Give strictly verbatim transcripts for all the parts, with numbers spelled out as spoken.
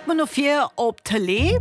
Kucke mer no vir op d'Tëlee.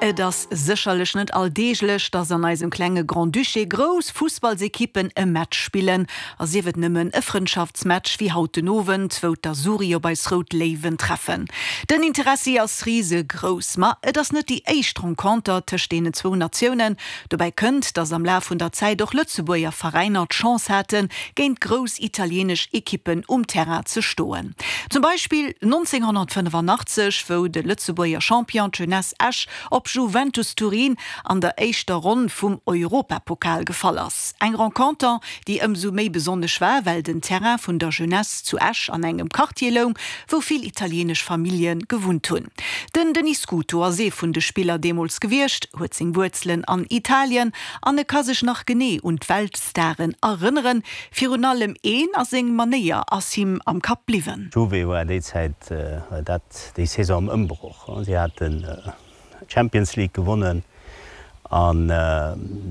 Et ass sécherlech net alldeeglech, dass an eisem klenge Grand-Duché grouss Fussballsekippen e Match spillen, a sief et nëmmen e Frëndschaftsmatch wéi haut den Owend, wou d'Azzurri op eis Rout Léiwen treffen. Den Interessi ass risegrouss. Ma et ass net déi éischt Renconter tëscht deenen zwou Natiounen. Dobäi kënnt, dass am Laf vun der Zäit och Lëtzebuerger Veräiner d'Chance haten, géint grouss italieenesch Ekippen um Terrain ze stoen. Zum Beispill nonzénghonnertfënnefannachtzeg, wou de Lëtzebuerger Champion, d'Jeunesse Esch, op Juventus Turin an der éischter Ronn vum Europapokal gefall ass. Eng Renconter, déi ëmsou méi besonnesch war, well den Terrain vun der Jeunesse zu Esch an engem Quartier loung, wou vill italieenesch Famillje gewunnt hunn. Den Denis Scuto ass ee vun de Spiller deemools gewiescht, huet seng Wuerzelen an Italien an e ka sech nach genee un d'Weltstaren erënneren. Virun allem een a seng Manéier ass him am Kapp bliwwen. Juve war déi Zäit, dat déi Saison am Ëmbroch. Si haten d'Champions League gewonnen an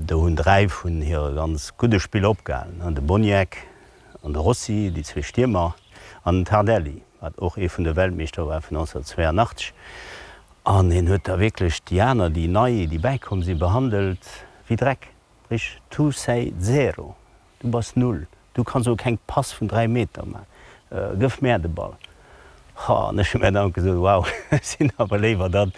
do hunn dräi vun hire ganz gudde Spiller opgehalen, de Boniek an de Rossi, déi zwee Stiermer, an den Tardelli, wat och ee vun de Weltmeeschter war vun nonzénhunnertzwéianachtzeg. An hien huet da wierklech déi aner, déi nei, déi bäikomm sinn, behandelt wéi Dreck. Sprich, tu sei zero, du bass null, du kanns och keng Pass vun dräi Meter man, gëff mär de Ball. Ha, an ech hu mär dann gesot, wow, ech sinn awer léiwer dann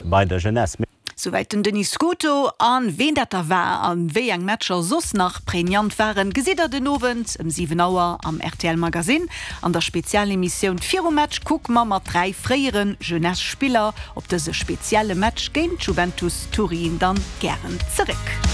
bei der Jeunesse. Souwäit den Denis Scuto. A ween dat da war a wéi eng Matcher soss nach prägnant waren, gesitt der den Owend ëm siwen Auer am rtl Magazine. An der Spezialemissioun Virum Match kucke mer mat dräi fréiere Jeunesse-Spiller op dëse spezielle Match géint Juventus Turin dann gären zeréck.